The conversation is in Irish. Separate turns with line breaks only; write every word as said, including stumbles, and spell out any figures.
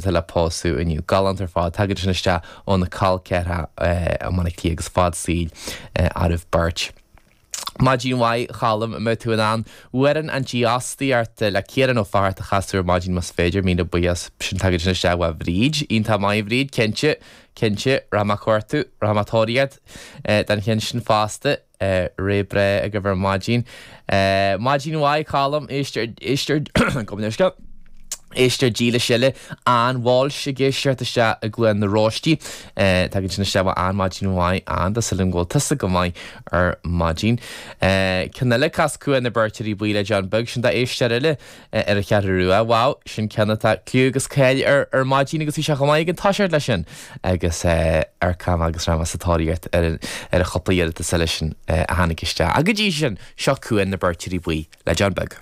le pósadh inniu. Galánta ar fad, tagann sin isteach ó na col ceathracha i mBaile Átha Cliath agus fad saoil oraibh beirt. Maidin mhaith a Cholm, an mbeidh tú in ann Amhrán an Dífhostaíocht le Ciarán Ó Fátharta a chasadh ar maidin más féidir, míle buíochas. Sin tagann sin isteach ó Bhríd. Iontach maith Bhríd, cinnte, cinnte, rachaidh mé ag cuartú, rachaidh mé ag tóraíocht don cheann sin fosta. Ré breá agaibh ar maidin. Maidin mhaith Colm, éisteoir, éisteoir, gabh mo leithscéal. Éisteoir dílis eile, Ann Walsh ag éisteacht isteach i gCluain na Róistí. Tagann sin isteach ó Ann, maidin mhaith Ann, tá súil agam go bhfuil tusa go maith ar maidin. Ceann eile, Cas Cuan na Beirteoirí Buí le John Beag, sin d'éisteoir eile ar an Cheathrú Rua. Wow, sin ceann atá cliú agus cáil ar ar maidin agus bhí sé chomh maith ag an toiseacht leis sin agus amharcfaidh mé agus rachaidh mé sa tóraíocht ar ar an chúpla iarratas eile sin a tháinig isteach. Ach go dtí sin, seo Cuan na Beirteoirí Buí le John Beag.